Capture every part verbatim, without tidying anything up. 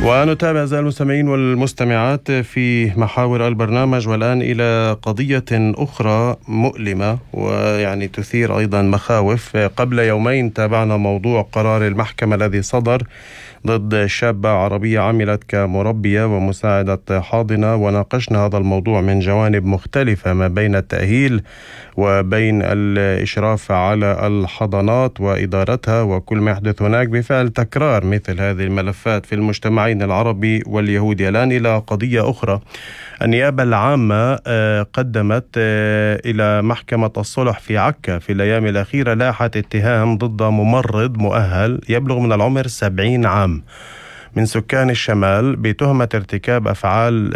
ونتابع أعزائي المستمعين والمستمعات في محاور البرنامج، والآن إلى قضية أخرى مؤلمة ويعني تثير أيضا مخاوف. قبل يومين تابعنا موضوع قرار المحكمة الذي صدر ضد شابة عربية عملت كمربية ومساعدة حاضنة، وناقشنا هذا الموضوع من جوانب مختلفة ما بين التأهيل وبين الإشراف على الحضانات وإدارتها وكل ما يحدث هناك بفعل تكرار مثل هذه الملفات في المجتمعين العربي واليهودي. الآن إلى قضية أخرى. النيابة العامة قدمت إلى محكمة الصلح في عكا في الأيام الأخيرة لائحة اتهام ضد ممرض مؤهل يبلغ من العمر سبعين عام من سكان الشمال بتهمة ارتكاب أفعال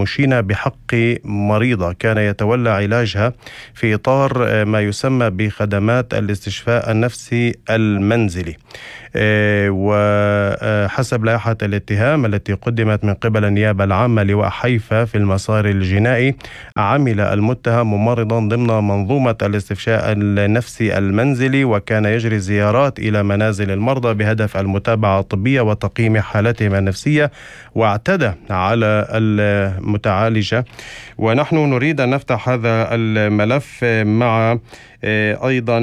مشينة بحق مريضة كان يتولى علاجها في إطار ما يسمى بخدمات الاستشفاء النفسي المنزلي. وحسب لائحة الاتهام التي قدمت من قبل النيابة العامة لواء حيفا في المسار الجنائي، عمل المتهم ممرضا ضمن منظومة الاستشفاء النفسي المنزلي، وكان يجري زيارات إلى منازل المرضى بهدف المتابعة الطبية وتقييم حالتهم النفسية، واعتدى على المتعالجة. ونحن نريد أن نفتح هذا الملف مع أيضا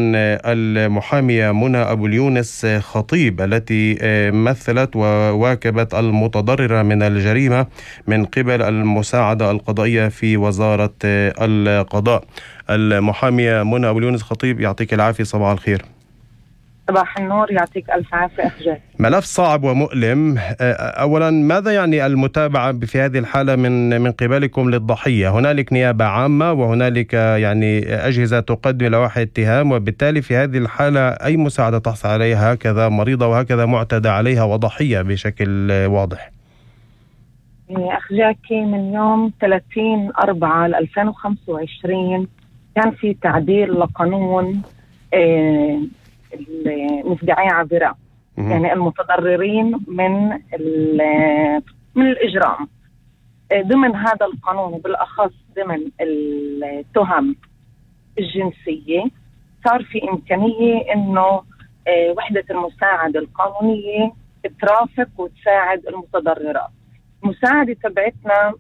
المحامية منى أبو اليونس خطيب التي مثلت وواكبت المتضررة من الجريمة من قبل المساعدة القضائية في وزارة القضاء. المحامية منى أبو اليونس خطيب، يعطيك العافية، صباح الخير. صباح النور، يعطيك ألف عافية أخ. ملف صعب ومؤلم. أولا، ماذا يعني المتابعة في هذه الحالة من من قبلكم للضحية؟ هنالك نيابة عامة وهنالك يعني أجهزة تقدم لوائح اتهام، وبالتالي في هذه الحالة أي مساعدة تحصل عليها هكذا مريضة وهكذا معتدى عليها وضحية بشكل واضح؟ أخ جاكي، من يوم ثلاثين أربعة ألفين وخمسة وعشرين كان في تعديل لقانون آه المفدعية عابرة، يعني المتضررين من من الإجرام. ضمن هذا القانون وبالأخص ضمن التهم الجنسية صار في إمكانية إنه وحدة المساعدة القانونية ترافق وتساعد المتضررات. المساعدة تبعتنا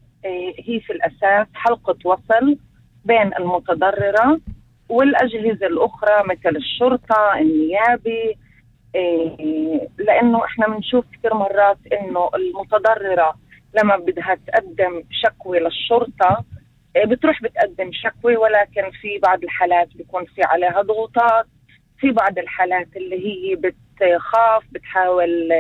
هي في الأساس حلقة وصل بين المتضررة والأجهزة الأخرى مثل الشرطة، النيابي، إيه لأنه إحنا بنشوف كثير مرات إنه المتضررة لما بدها تقدم شكوى للشرطة إيه بتروح بتقدم شكوى، ولكن في بعض الحالات بيكون في عليها ضغوطات، في بعض الحالات اللي هي بتخاف، بتحاول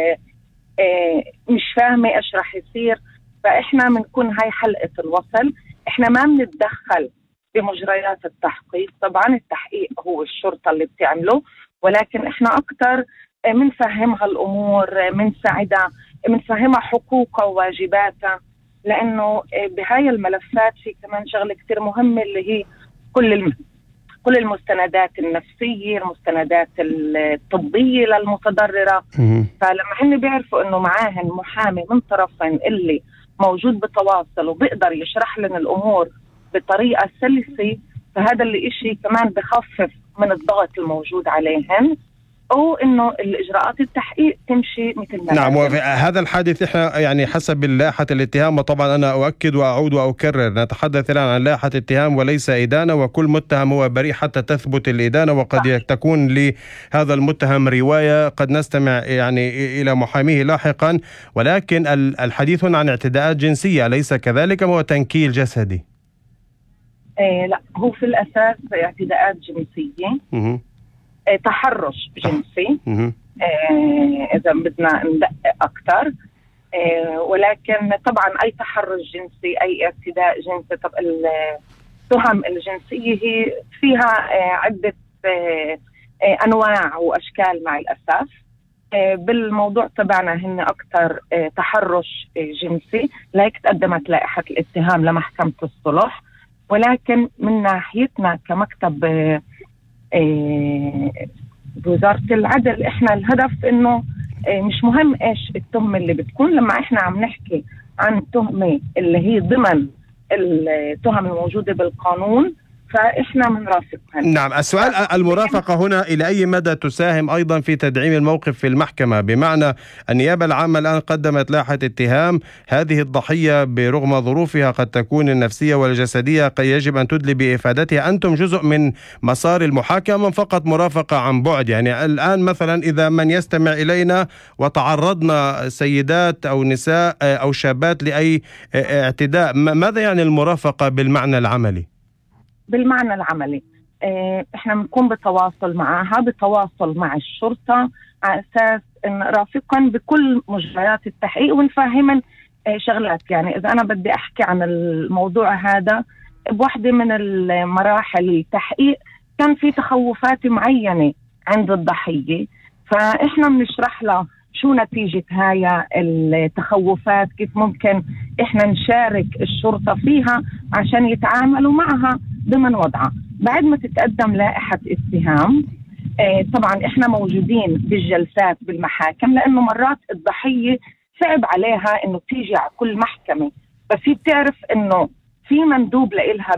إيه مش فاهمة إيش رح يصير. فإحنا بنكون هاي حلقة الوصل. إحنا ما بنتدخل بمجريات التحقيق، طبعا التحقيق هو الشرطة اللي بتعمله، ولكن احنا اكتر منفهمها الامور، منساعدها، منفهمها حقوقها وواجباتها، لانه بهاي الملفات في كمان شغلة كتير مهمة اللي هي كل الم... كل المستندات النفسية، المستندات الطبية للمتضررة. فلما هن بيعرفوا انه معاهن محامي من طرفين اللي موجود بتواصل وبيقدر يشرح لنا الامور بطريقة سلسة، فهذا اللي إشي كمان بخفف من الضغط الموجود عليهن، أو إنه الإجراءات التحقيق تمشي مثل ما نعم. وهذا الحادث إحنا يعني حسب لائحة الاتهام، وطبعا أنا أؤكد وأعود وأكرر نتحدث الآن عن لائحة اتهام وليس إدانة، وكل متهم هو بريء حتى تثبت الإدانة، وقد صح. تكون لهذا المتهم رواية قد نستمع يعني إلى محاميه لاحقا، ولكن الحديث هنا عن اعتداءات جنسية أليس كذلك؟ هو تنكيل جسدي؟ إيه لا، هو في الأساس اعتداءات جنسية، إيه تحرش جنسي، إيه إذا بدنا ندقق أكتر، إيه ولكن طبعا أي تحرش جنسي، أي اعتداء جنسي، طب التهم الجنسية هي فيها إيه عدة إيه إيه أنواع وأشكال مع الأسف. إيه بالموضوع تبعنا هن أكتر إيه تحرش إيه جنسي، لهيك تقدمت لائحة الاتهام لمحكمة الصلح. ولكن من ناحيتنا كمكتب بوزارة العدل، احنا الهدف انه مش مهم ايش التهمة اللي بتكون. لما احنا عم نحكي عن تهمة اللي هي ضمن التهم الموجودة بالقانون، فإحنا بنرافقهم. نعم. السؤال المرافقة هنا إلى أي مدى تساهم أيضا في تدعيم الموقف في المحكمة؟ بمعنى النيابة العامة الآن قدمت لائحة اتهام، هذه الضحية برغم ظروفها قد تكون النفسية والجسدية قد يجب أن تدلي بإفادتها، أنتم جزء من مسار المحاكمة فقط مرافقة عن بعد. يعني الآن مثلا إذا من يستمع إلينا وتعرضنا سيدات أو نساء أو شابات لأي اعتداء، ماذا يعني المرافقة بالمعنى العملي؟ بالمعنى العملي احنا بنكون بتواصل معها، بتواصل مع الشرطة على أساس ان نرافقهم بكل مجريات التحقيق ونفهمن شغلات. يعني إذا أنا بدي أحكي عن الموضوع هذا، بواحدة من المراحل التحقيق كان في تخوفات معينة عند الضحية، فإحنا بنشرح لها شو نتيجة هاي التخوفات، كيف ممكن إحنا نشارك الشرطة فيها عشان يتعاملوا معها ضمن وضعها. بعد ما تتقدم لائحة اتهام اه طبعا إحنا موجودين بالجلسات بالمحاكم، لأنه مرات الضحية صعب عليها إنه تيجي على كل محكمة، بس هي بتعرف إنه في مندوب لإلها